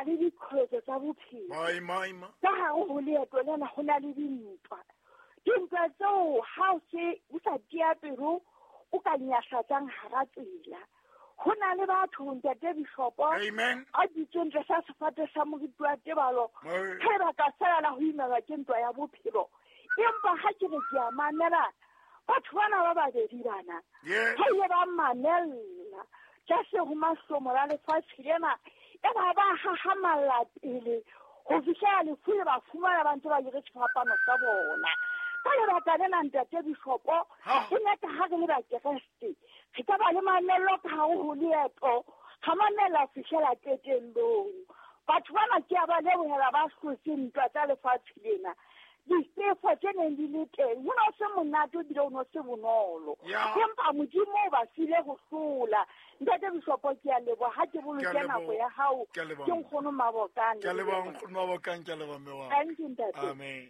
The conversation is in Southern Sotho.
le diqholotso tsa bophelo. Ka gare go leeto lena go na le dintwa. Dintwa tseo ha o se o sa tia pelo o ka nyahlatsang hara tsela. Ho na le batho ntate Bishopo a dutseng tlasa sefate sa moriti wa tebalo, ge ba ka fela la go imelwa ke ntwa ya bophelo. Empa ha ke re ke a mamela batho bana ba babedi bana, ba ile ba mamella tlase ho mahlomola lefatshe lena, e ba ba hahamalla pele ho fihlela lefu le ba fumana ba ntse ba jere sefapano sa bona. Ka lebaka lena ntate Bishopo, e nyaka ha re le bakeresete re ka ba le mamello ka hare ho leeto, ga mamela ho fihlela qetellong. Batho bana ke a ba lebohela ba hlotseng ntwa tsa lefatshe lena. Difefo tse neng di le teng, ho no se monate ebile ho no se bonolo. Empa Modimo o ba file ho hlola. Ntate Bishopo, ke a leboha ha ke boloke nako ya hao. Ke nkgono Mabokang. Ke a leboha nkgono Mabokang, ke a leboha mme wa. Thank you ntate. Amen.